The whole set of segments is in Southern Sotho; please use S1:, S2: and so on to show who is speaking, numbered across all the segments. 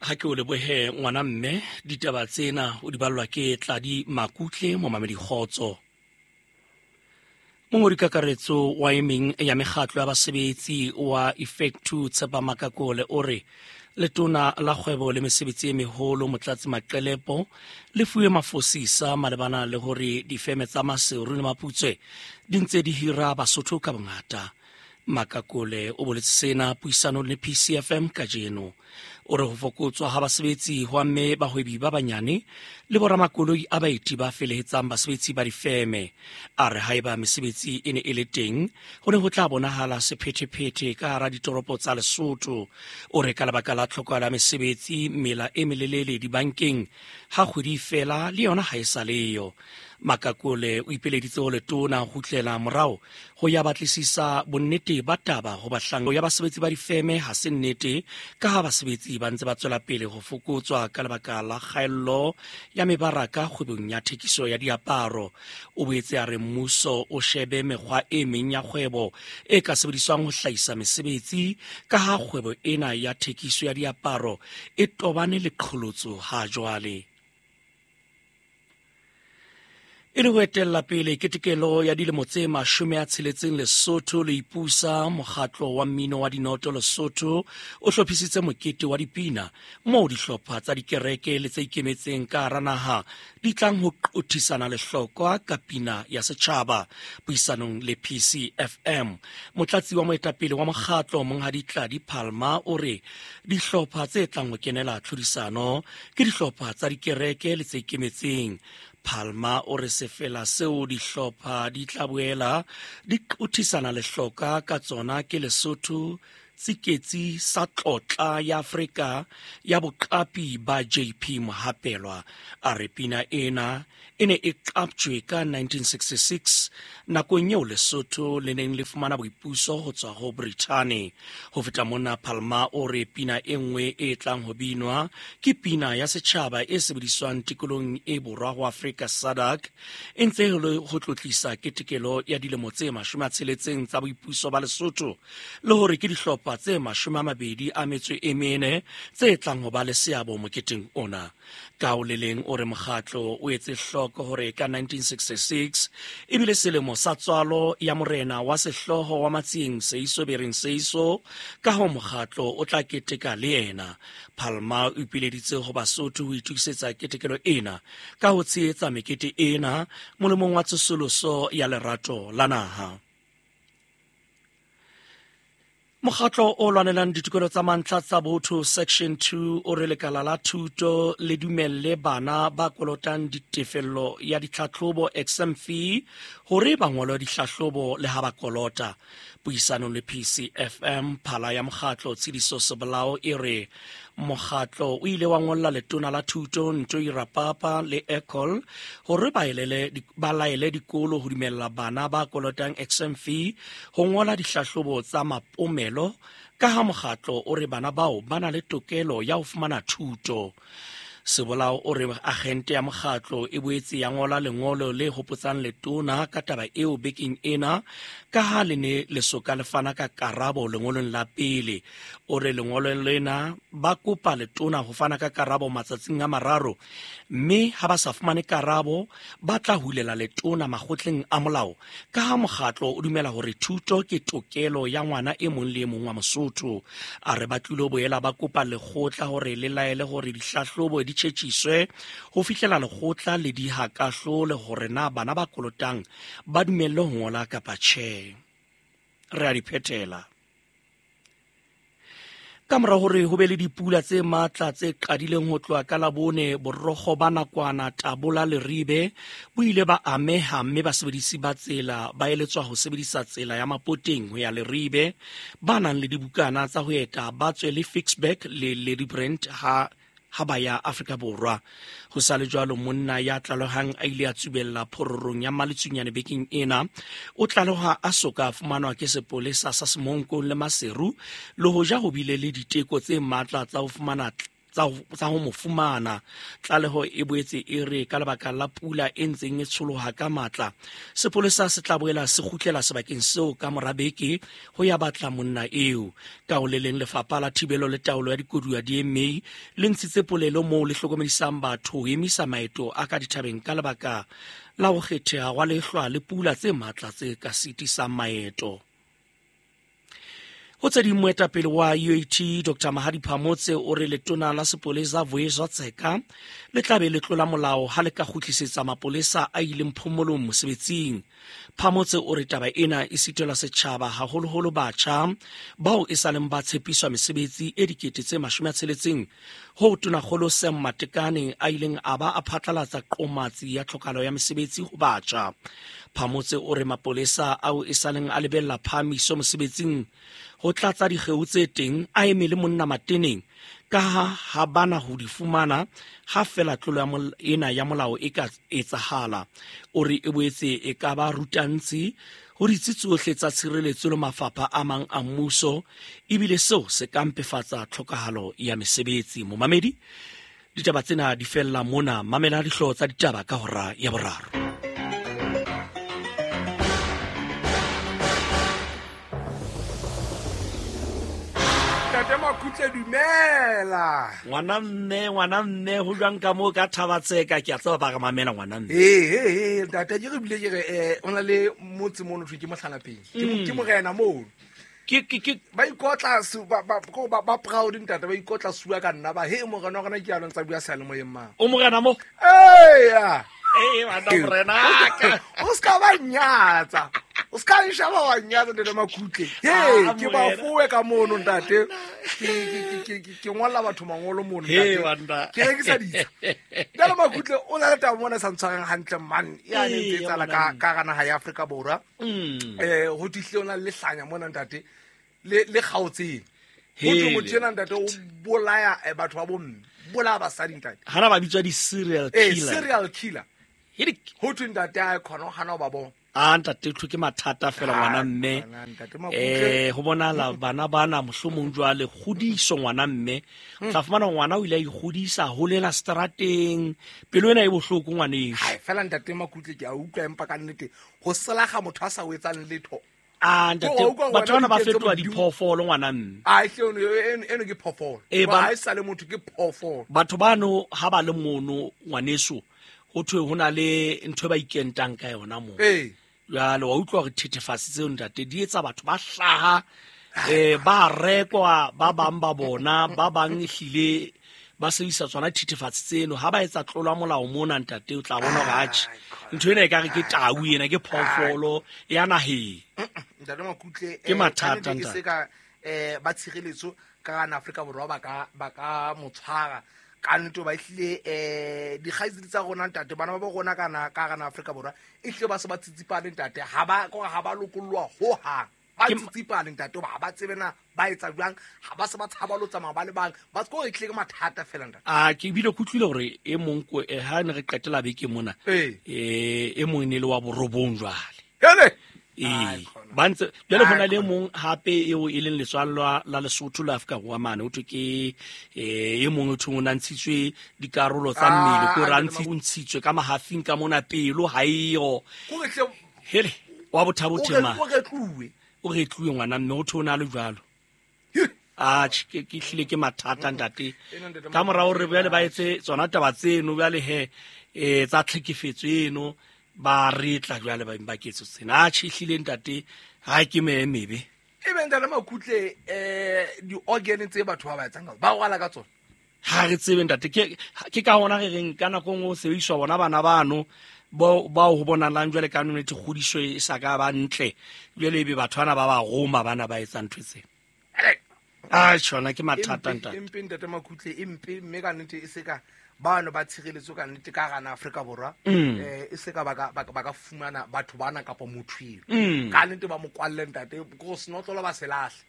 S1: Ha ke o lebohe ngwana mme, ditaba tsena o di ballwa ke Tladi Makutle, momamedi kgotso. Mongodi kakaretso wa e meng ya mekgatlo ya basebetsi wa Effectu Tshepa Makakole o re letona la kgwebo le mesebetsi e meholo Motlatsi Maqelepo le fuwe mafosisa malebana le hore difeme tsa Maseru le Maputswe di ntse di hira Basotho ka bongata. Makakole o boletse sena puisanong le PCFM kajeno. O re ho fokotswa ha basebetsi ho amme bahwebi ba banyane le boramakoloi a baeti ba felehetsang basebetsi ba difeme. A re haeba mesebetsi e ne e le teng, ho ne ho tla bonahala sephethephethe ka hara ditoropo tsa Lesotho. O re ka lebaka la tlhokahalo ya mesebetsi, mela e melelele dibankeng ha kgwedi e fela le yona ha e sa leyo. Makakole o ipeleditse ho letona ho kgutlela morao ho ya batlisisa bonnete ba taba ho bahlanka ya basebetsi ba difeme ha se nnete, ka ha basebetsi ba ntse ba tswela pele ho fokotswa ka lebaka la kgaello ya mebaraka kgwebong ya thekiso ya diaparo. O boetse a re mmuso o shebe mekgwa e meng ya kgwebo e ka sebediswang ho hlahisa mesebetsi, ka ha kgwebo ena ya thekiso ya diaparo e tobane le qholotso ha jwale. E le ho etella pele ketekelo ya dilemo tse 60 Lesotho le ipusa, mokgatlo wa mmino wa dinoto Lesotho o hlophisitse mokete wa dipina moo dihlopha tsa dikereke le tse ikemetseng ka hara naha di tlang ho qothisana lehlokwa ka pina ya setjhaba. Puisanong le PCFM, motlatsi wa moetapele wa mokgatlo Monghadi Tladi Palma o re dihlopha tse tlang ho kenela tlhodisano ke dihlopha tsa dikereke le tse ikemetseng. Palma o re sefela seo dihlopha di tla boela di qothisana lehloka ka tsona ke Lesotho Tsiketsi sa tlotla ya Afrika ya boqapi ba JP Mohapelwa. A re pina ena e ne e qaptjwe ka 1966 nakong eo Lesotho le neng le fumana boipuso ho tswa ho Brithani. Ho feta mona, Palma o re pina e nngwe e tlang ho binwa ke pina ya setjhaba e sebediswang tikolong e borwa ho Afrika SADC, e ntse e le ho tlotlisa ketekelo ya dilemo tse 60 tsa boipuso ba Lesotho, le hore ke dihlopha tse 24 tse tlang ho ba le seabo moketeng ona. Ka o le leng, o re mokgatlo o etse hloko hore ka 1966 ebile selemo sa tswalo ya morena wa sehlooho wa Matsieng Seiso Bereng Seiso, ka ho mokgatlo o tla keteka le yena. Palma o ipileditse ho Basotho ho itokisetsa ketekelo ena ka ho tshehetsa mekete ena molemong wa tsosoloso ya lerato la naha. Mokgatlo o lwanelang ditokelo tsa mantlha tsa botho Section 2 o re lekala la thuto le dumelle bana ba kolotang ditefello ya ditlhatlhobo exam fee hore ba ngolwe dihlahlobo le ha ba kolota. Puisanong le PCFM, phala ya mokgatlo Tshidiso Sebolao e re mokgatlo o ile wa ngolla letona la thuto Ntoi Rapapa le Ecol hore ba laele dikolo ho dumella bana ba kolotang exam fee ho ngola dihlahlobo tsa mapomelo, ka ha mokgatlo o re bana bao ba na le tokelo ya ho fumana thuto. Sebolao o re agente ya mokgatlo e boetse ya ngola lengolo le hopotsang letona ka taba eo bekeng ena, ka ha le ne le soka le fana ka karabo lengolong la pele. O re lengolo lena ba kopa letona ho fana ka karabo matsatsing a 3, mme ha ba sa fumane karabo ba tla hulela letona makgotleng a molao, ka ha mokgatlo o dumela hore thuto ke tokelo ya ngwana e mong le e mong wa Mosotho. A re ba tlilo boela ba kopa lekgotla hore le laele hore dihlahlobo di tjhetjhiswe ho fihlela lekgotla le diha kahlolo hore na bana ba kolotang ba dumelle ho ngola kapa tjhe. Re a di phethela. Ka mora hore ho be le dipula tse matla tse qadileng ho tloha ka Labone, borokgo ba nakwana Tabola Leribe bo ile ba ameha, mme basebedisi ba tsela ba eletswa ho sebedisa tsela ya Mapoteng ho ya Leribe. Ba nang le dibukana tsa ho eta ba tswe le Ficksburg le Ladybrand ha ba ya Afrika Borwa. Ho sa le jwalo, monna ya tlalehang a ile a tsubella phororong ya Maletsunyane bekeng ena o tlaleha a soka a fumanwa ke sepolesa sa Semonkong le Maseru, le hoja ho bile le diteko tse matla tsa ho fumana tsa ho mo fumana. Tlaleho e boetse e re ka lebaka la pula e ntseng e tsholoha ka matla, sepolesa se tla boela se kgutlela sebakeng seo ka mora beke ho ya batla monna eo. Ka ho le leng, lefapha la thibelo le taolo ya dikoduwa DMA le ntshitse polelo moo le hlokomedisang batho ho emisa maeto a ka dithabeng ka lebaka la ho kgetheha hwa lehlwa le pula tse matla tse ka sitisang maeto. Ho tse ding, moetapele wa UAT Dr Mahadi Phamotse o re letona la sepolesa Vuyiswa Tseka le tla be le tlola molao ha le ka kgutlisetsa mapolesa a ileng phomolong mosebetsing. Phamotse o re taba ena e sitelwa setjhaba, haholoholo batjha bao e sa leng ba tshepiswa mesebetsi e 60 000, ho tonakgolo Sam Matekane a ileng a ba a phatlalatsa qomatsi ya tlhokahalo ya mesebetsi ho batjha. Phamotse o re mapolesa ao e sa leng a lebella phahamiso mosebetsing ho tlatsa dikgeo tse teng a eme le monna mateneng, ka ha ha bana ho di fumana ha fela tlolo ena ya molao e ka etsahala. O re e boetse e ka ba rutantsi ho ditsi tsohle tsa tshireletso le mafapha a mang a mmuso, ebile seo se ka mpefatsa tlhokahalo ya mesebetsi. Momamedi, ditaba tsena di fella mona. Mamela dihlooho tsa ditaba ka hora ya boraro.
S2: Ntate Makhutse, dumela.
S1: Ngwana mme, ngwana mme, ho jwang ka moo ka Thabatseka? Ke a tseba ba re mamela, ngwana mme.
S2: Ee, ntate, ke re bile ke re o na le motse mono thwe ke Mohlanapeng, ke morena mono.
S1: Ke
S2: Ba ikotla ba proud, ntate, ba ikotla sua ka nna ba he morena wa rona ke along tsa bua seyalemoyeng mang.
S1: O morena mo?
S2: Eya.
S1: Ee, bana, morena ka.
S2: O se ka ba nyatsa, o se ka nshaba wa nyatsa, ntate Makhutle. He, ke
S1: morena.
S2: Bafowe ka mono, ntate. Ke ngolla batho mangolo mono,
S1: He,
S2: ntate.
S1: banna.
S2: Ke rekisa ditsha. Ntate Makhutle, o na le taba mona e sa ntshwareng hantle man, yane ntse e tsala ka
S1: ngwana.
S2: ka gana naha ya Afrika Borwa. Ho tihle o na le lehlanya mona, ntate, le kgaotseng ho thwe
S1: Hele.
S2: motho ena, ntate, o bolaya batho ba bomme, bolaya basadi, ntate.
S1: Hana ba bitswa di-serial killer.
S2: Serial killer.
S1: Hedi.
S2: Ho thwe, ntate, a khona ho hana ho ba bona.
S1: A ntate, thwe ke mathata fela, ngwana mme.
S2: Ngwana, ntate Makutle.
S1: Ho bonala bana bana mohlomong jwale kgodiso, ngwana mme, o tla fumana ngwana o ile a ikgodisa, holela strateng, pelo ena e bohloko, ngwaneso.
S2: Hai, fela ntate Makutle, ke a utlwa, empa ka nnete ho selaga motho a sa o etsang letho.
S1: A ntate,
S2: Wa utlwa
S1: batho
S2: wena
S1: bana ba
S2: diketso
S1: fetoha
S2: Modimo.
S1: diphoofolo, ngwana mme.
S2: A hle, eno ke phoofolo. Ba ha e sa le motho, ke phoofolo.
S1: Batho bano ha ba le mono, ngwaneso, ho thwe ho na le ntho e ba ikentang ka yona moo. Jwale wa utlwa hore thethefatsi tseo, ntate, di etsa batho ba hlaha, ba rekwa, ba bang ba bona, ba bang ehlile ba sebedisa tsona thethefatsi tseno ha ba etsa tlolo ya molao mona, ntate. O tla bona hore atjhe, ntho ena e ka re ke tau, ena ke phoofolo ya naheng.
S2: Ntate Makutle,
S1: Ke mathata,
S2: kannete e
S1: ntate.
S2: se ka ba tshireletso ka gana Afrika Borwa ba ka mo tshwara ka nnete, ba ehlile dikgaitsedi tsa rona, ntate, bana ba bo rona ka gana Afrika Borwa e hlile ba se ba tsitsipane, ntate, ha ba kore ha ba lokolloa hohang, ba tsitsipane, ntate, hoba ha ba tsebe na ba etsa jwang, ha ba se ba tshaba lo tsamaya ba le bang, ba kore e tlile ke mathata fela, ntate.
S1: A ke ebile ke utlwile hore e mong ha ne re qetela beke mona, e mong e ne le wa borobong jwale.
S2: Hele.
S1: Ee,
S2: Ai, khona.
S1: ba ntse jwale ho na
S2: Ai,
S1: le
S2: khona.
S1: mong hape eo e leng letswallwa la Lesotho la Afrika Borwa mane, ho thwe ke e mong, o thweng o na ntshitswe dikarolo tsa mmele, ke hore a o ntshitswe ka mahafing ka mona, pelo ha eyo.
S2: Kore hle.
S1: Hele, wa bothabothe ma.
S2: O retluwe.
S1: O retluwe, ngwana mme, ho thwe o na le jwalo. Atjhe, ke hlile ke mathata, ntate.
S2: Ena, ntate.
S1: Ka mora hore bjale ba etse tsona taba tseno bjale he, tsa tlhekefetso eno, ba retla jwale ba ba ketso tsena. Atjhe, ehlile, ntate, ha ke meya e mebe.
S2: E be, ntate Makutle, di-organ tse batho ba ba etsang ba rwala ka tsona.
S1: Ha re tsebe, ntate. Ke ka hona re reng ka nako e nngwe ho sebediswa bona bana bano bao ho bonalang jwale ka nnete kgodiso e sa ka ba ntle, jwale ebe batho bana ba ba roma bana ba etsang ntho tsena. A tjhona ke mathata, ntate.
S2: Empe, ntate Makutle, empe, mme ka nnete e se ka bano ba tshireletso ka nnete ka gana Afrika Borwa, e se ka ba ka fumana batho bana kapa motho eo, ka nnete ba mo kwalle, ntate, ko senotlolo ba se lahle.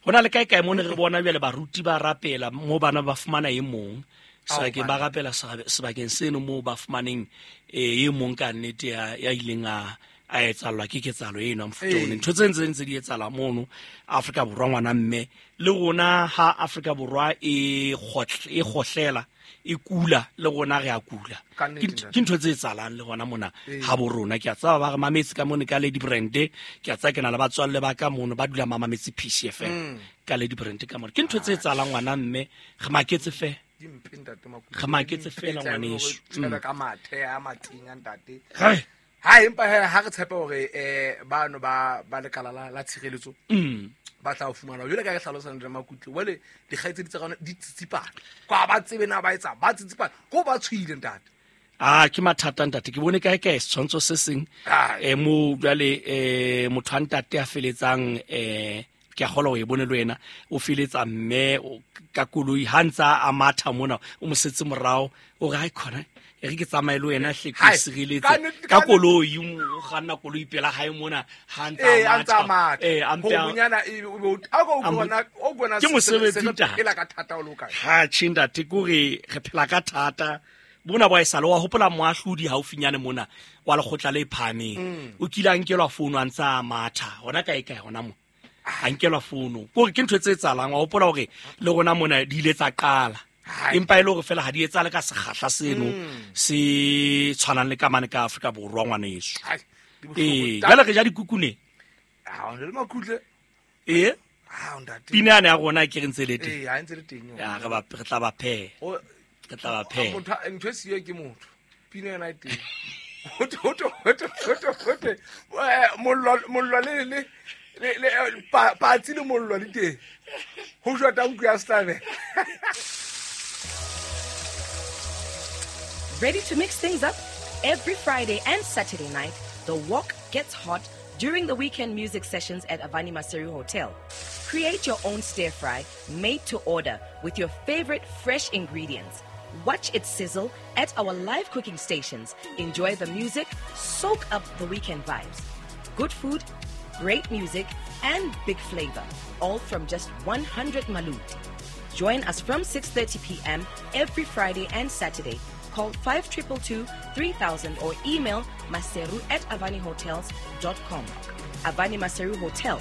S1: Ho na le kae kae mo ne re bona jwale baruti ba rapela mo bana ba fumana e mong sebakeng, ba rapela sebakeng seno moo ba fumaneng e mong ka nnete ya ileng a A etsallwa ke ketsahalo eno ya mofuta ono. Ntho tse ntse ntse di etsahala mono Afrika Borwa, ngwana mme. Le rona ha Afrika Borwa e kgohlela, e kula, le rona re a kula. Ke ntho tse etsahalang le rona mona ha bo rona. Ke a tseba ba re mametse ka mone ka Lady Brand, ke a tseba ke na le batswalle ba ka mono ba dula ba mametse PCFM ka Lady Brand ka mona. Ke ntho tse etsahalang, ngwana mme, re maketse fe. Re maketse fela, ngwaneso.
S2: Ka mathe a matenya, ntate. Ha empa ha re tshepe hore bano ba lekala la tshireletso ba tla o fumana. Jwale ka re hlalosang re Makutle, jwale dikgaitsedi tsa rona di tsitsipana kwa ba tsebe na ba etsa ba tsitsipana ko ba tshohile, ntate.
S1: A ke mathata, ntate. Ke bone kae kae setshwantsho se seng mo jwale motho a ntate a feletsang, ke a kgolwa o e bone le wena, o feletsa mme ka koloi ha ntsa a matha mona, o mo setse morao, o re hai khona e re ke tsamaye le wena hle, ke sireletse ka koloi, o kganna koloi pela hae mona ha ntsa a matha. Ke mosebetsi, ntate. Ha tjhe, ntate, ke hore re phela ka thata bona bo esale. Wa hopola moahlodi haufinyane mona wa lekgotla le phahameng o kile a nkelwa founu a ntsa a matha hona kae kae hona mo, a nkelwa founu. Kore ke ntho tse etsahalang. Wa hopola hore le rona mona di ile tsa qala, empa e le hore fela ha di etsahale ka sekgahla seno se tshwanang le ka mane ka Afrika Borwa, ngwaneso. Ee, jwale re ja dikukune. Ee, pina yane ya rona ke re ntse le teng, re tla ba pheha, re tla ba pheha.
S2: Ntho e siyo ke motho, pina yona e teng. Hote mollo le patsi le mollo le teng ho jwa nku ya sehlabelo.
S3: Ready to mix things up? Every Friday and Saturday night, the walk gets hot during the weekend music sessions at Avani Maseru Hotel. Create your own stir fry made to order with your favorite fresh ingredients. Watch it sizzle at our live cooking stations. Enjoy the music, soak up the weekend vibes. Good food, great music, and big flavor, all from just 100 malut. Join us from 6:30 p.m. every Friday and Saturday. Call 5222 3000 or email maseru@avanihotels.com. Avani Maseru Hotel.